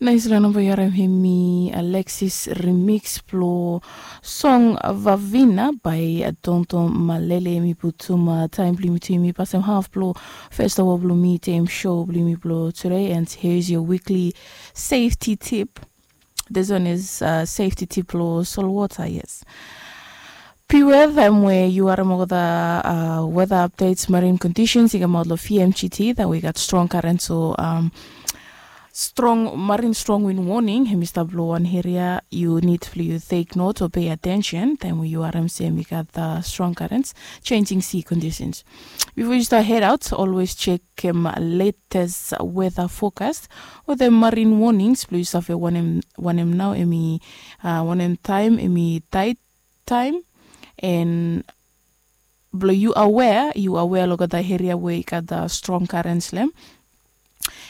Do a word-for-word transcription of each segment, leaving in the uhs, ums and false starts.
Naisala namba yu harim hemi Alexis remix blong song Vavina by Tonto Malele. Hemi putum taem blong yumi tu yumi pasem haf blong fes aoa blong mi tem show blong yumi blong tude. And here is your weekly safety tip. This one is uh, safety tip blong solwota, yes. Piwe taem we yu harim olgeta uh, weather updates, marine conditions i kamaot long V M G T, taem we i gat strong current, so um, strong marine strong wind warning hemi stap long wan eria, yu nid blong yu take note o pay attention taem we yu harim se hemi gat uh, strong currents, changing sea conditions. Before you start head out, always check um, latest weather forecast o the marine warnings blong yu save wanem wanem nao hemi uh, wanem taem hemi tide taem. And blong yu aware, yu aware long olgeta eria we i gat uh, strong currents lem.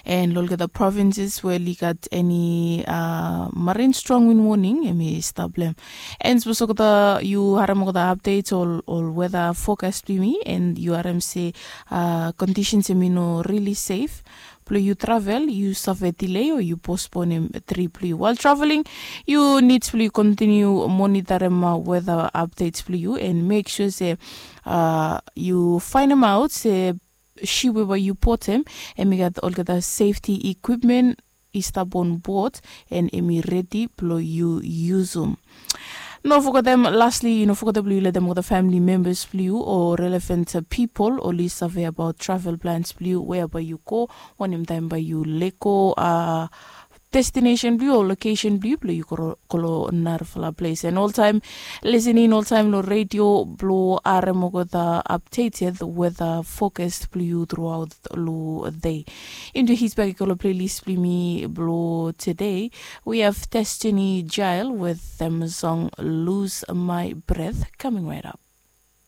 And long olgeta provinces we oli gat eni uh, marine strong wind warning hemi stap lem. And sapos olgeta yu harim olgeta updates ol ol weather forecast blong yumi and yu harim se uh, conditions hemi no really safe blong yu travel, yu save delay o yu postponem trip blong yu. While traveling, yu nid blong yu continue monitorim uh, weather updates blong yu and make sure se uh, yu faenemaot se ship we bae yu botem hemi gat olgeta safety equipment i stap on board and hemi redi blong yu yusum. No fogetem, lastly, yu no fogetem blong yu letem olgeta family members blong yu o relevant uh, people oli save abaot travel plans blong yu, wea bae yu go, wanem taem bae yu lego uh, destination blong yu o location blong yu blong yu go long narafala ples. And oltaem listening oltaem long radio blong harim olgeta updated weather forecast blong yu throughout long day. Into his bag i go long playlist blong mi blong today. We have Destiny Jail with them song Lose My Breath coming right up.